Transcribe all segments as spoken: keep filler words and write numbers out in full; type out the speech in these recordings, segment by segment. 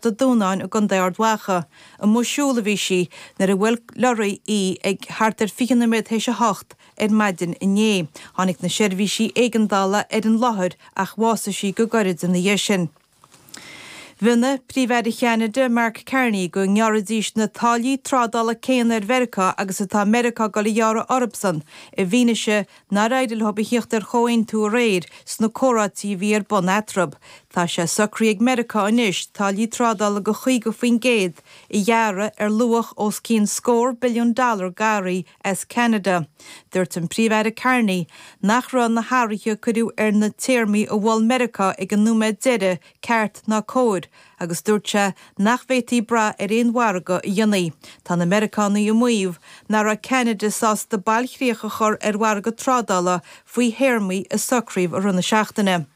Port a' Dúnáin i gContae Ard Mhacha. Amuigh ag siúl a bhí sí nuair a bhuail lorry í ag thart ar fiche nóiméad théis a hocht ar maidin inné. Tháinig na seirbhísí éigeandála ar an láthair ach bhásaigh sí go gairid ina dhiaidh sin. Mhionnaigh Príomh-Aire Cheanada Mark Carney go ngearrfaidís na táillí trádála céanna ar Mheiriceá agus atá Meiriceá ag dul a ghearradh orthusan i bhfianaise nár éirigh leo a theacht ar chomhaontú aréir sna comhráití a bhí ar bun eatarthu. Tá sé socraithe ag Meiriceá anois táillí trádála de chaoga faoin gcéad a ghearradh ar luach os cionn scór billiún dollar d'earraí as Ceanada. Dúirt an Príomh-Aire Carney nach raibh na hathruithe a cuireadh ar na téarmaí a mhol Meiriceá ag an nóiméad deiridh ceart ná cóir, agus dúirt sé nach bhféadfaí brath ar aon mhargadh a dhéanamh. Tá na Meiriceánaigh ag maíomh nach raibh Ceanada sásta bailchríoch a chur ar mhargadh trádála faoi théarmaí a socraíodh i rith na seachtaine.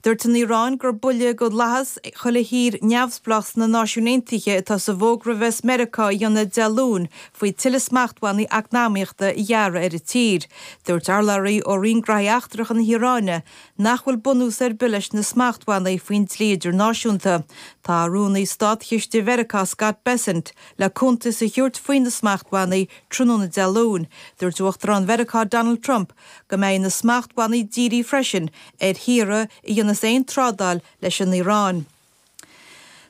Dúirt an Iaráin gur buille do fhlaitheas chuile thír neamhspleách sna Náisiúin Aontaithe atá sa bhfógra a bheas Meiriceá a dhéanamh Dé Luain faoi tuilleadh smachtbhannaí eacnamaíochta a ghearradh ar an tír. Dúirt urlabhraí ó Roinn Gnóthaí Eachtracha na hIaráine nach bhfuil bunús ar bith leis na smachtbhannaí faoin dlí idirnáisiúnta. Tá rúnaí státchiste Mheiriceá Scott Bessent le cuntas a thabhairt faoi na smachtbhannaí tráthnóna Dé Luain. Dúirt Uachtarán Mheiriceá Donald Trump go mbeidh na smachtbhannaí dírithe freisin ar thíortha a dhéanas aon trádáil leis an Iaráin.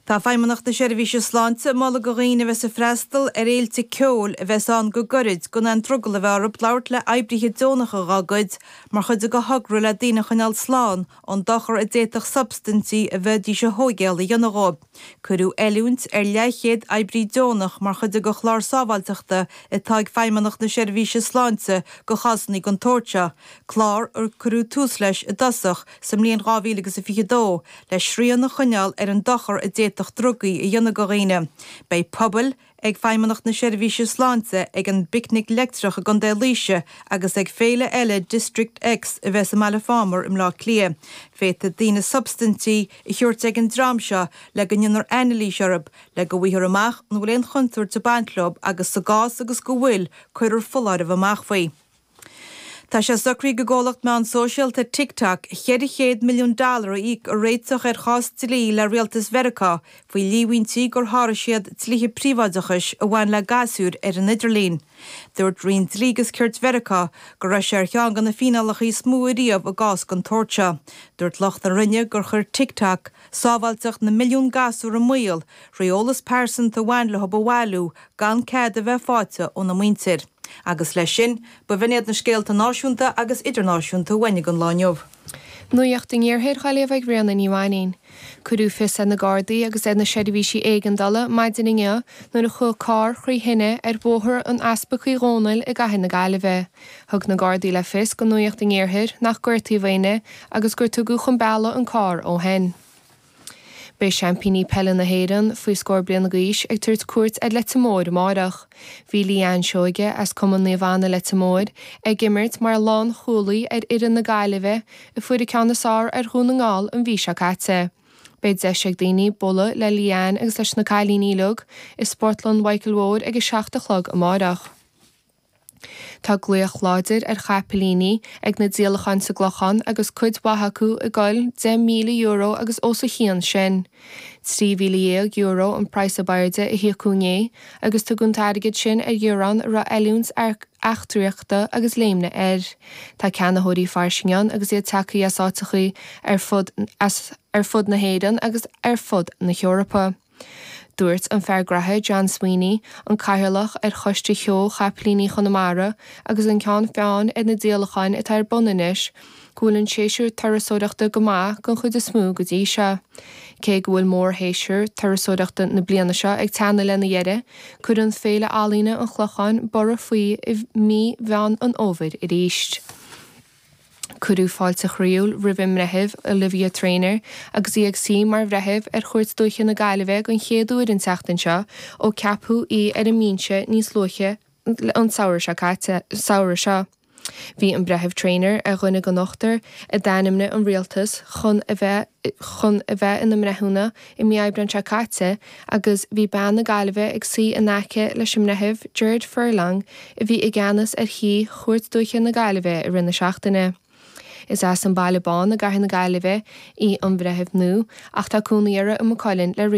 Tá Feidhmeannacht na Seirbhíse Sláinte ag moladh do dhaoine a bheas ag freastal ar fhéilte ceoil a bheas ann go gairid gan aon drogall a bheith orthu labhairt le oibrithe deonacha dá gcuid mar chuid de thogra le daoine a choinneáil slán ón dochar a d'fhéadfadh substaintí a bheidís a thógáil a dhéanamh dóibh. Cuireadh oiliúint ar leathchéad oibrí deonach mar chuid de chlár sábháilteachta atá ag Feidhmeannacht na Seirbhíse Sláinte do chásanna den tsórt seo, clár ar cuireadh tús leis i dtosach sa mbliain dhá mhíle agus a fiche dó le srian a choinneáil ar an dochar a d'fhéadfadh drugaí a dhéanamh do dhaoine. Beidh puball ag Feidhmeannacht na Seirbhíse Sláinte ag an bPicnic Leictreach i gContae Laoise agus ag féile eile District X a bheas i mBaile Phámar i mBleá Cliath. Féadfaidh daoine substaintí a thabhairt ag an dream seo le go ndéanfar anailís orthu, le go bhfaighfear amach an bhfuil aon chontúirt ag baint leo agus sa gcás agus go bhfuil, cuirfear foláireamh amach faoi. Tá sé socraithe ag an gcomhlacht meán sóisialta TikTok ceithre chéad milliún dollar a íoc i réiteach ar chás dlí le rialtas Mheiriceá faoi líomhaintí gur sháraigh siad dlíthe príobháideachais a bhain le gasúir ar an idirlíon. Dúirt Roinn Dlí agus Cirt Mheiriceá go raibh sé ar cheann de na fíneálacha is mó ariamh i gcás den tsórt seo. Dúirt lucht na Roinne gur chuir TikTok sábháilteacht na milliún gasúr i mbaol trí eolas pearsanta a bhain leo a bhailiú gan cead a bheith faighte óna muintir. Agus leis sin, ba bh'in iad na scéalta náisiúnta agus idirnáisiúnta a bhain an lá inniu. Nuacht an Iarthair á léamh ag Ríona Ní Mhainín. Cuireadh fios ar na Gardaí agus ar na seirbhísí éigeandála maidin inniu nuair a chuaigh carr trí thine ar Bhóthar an Easpaig Uí Dhónaill i gCathair na Gaillimhe. Thug na Gardaí le fios do Nuacht an Iarthair nach gortaíodh éinne agus gur tugadh chun bealaigh an carr ó shin. Beidh seaimpíní peile na hÉireann faoi scór bliana d'aois ag tabhairt cuairt ar Leitir Móir amárach. Bhí Leanne Seoige as Cumann Naomh Anna Leitir Móir ag imirt mar lánchúlaí ar fhoireann na Gaillimhe a fuair an ceann is fearr ar Dhún na nGall an mhí seo caite. Beidh deis ag daoine bualadh le Leanne agus leis na cailíní uilig i Spórtlann Mhichael Mhóir ag a seacht a chlog amárach. Tá glaoch láidir ar chapaillíní ag na díolacháin sa gClochán agus cuid mhaith acu ag goil deich míle euro agus os a chionn sin. Trí mhíle dhéag euro an praghas ab airde a híocadh inné agus tugadh an t-airgead sin ar ghiorrán a raibh oiliúint eachtraíochta agus léimne air. Tá ceannaitheoirí fairsing ann agus iad tagtha as áiteacha ar fud as ar fud na hÉireann agus ar fud na hEorpa. Dúirt an fear graithe John Sweeney, an cathaoirleach ar choiste Sheó Chapaillíní Chonamara agus an ceann feadhain ar na díolacháin atá ar bun anois, go bhfuil an séasúr turasóireachta go maith den chuid is mó go dtí seo. Cé go bhfuil mórshéasúr turasóireachta na bliana seo ag teannadh lena dheireadh, cuireann Féile Ealaíne an Chlocháin borradh faoi i mí Mheán an Fhómhair arís. Cuireadh fáilte chroíúil roimh an mbreitheamh Olivia Traynor agus í ag suí mar bhreitheamh ar Chúirt Dúiche na Gaillimhe den chéad uair an tseachtain seo ó ceapadh í ar an mbinse níos luaithe an samhradh seo caite samhradh seo. Bhí an breitheamh Traynor ar dhuine den ochtar a d'ainmnigh an rialtas chun a bheith chun a bheith ina mbreithiúna i mí Aibreáin seo caite agus bhí bean na Gaillimhe ag suí in aice leis an mbreitheamh Gerard Furlong a bhí i gceannas ar shuí Chúirt Dúiche na Gaillimhe i rith na seachtaine. Is as an Baile Bán i gCathair na Gaillimhe í an bhreitheamh nua ach tá cónaí uirthi i Maigh Cuilinn le roinnt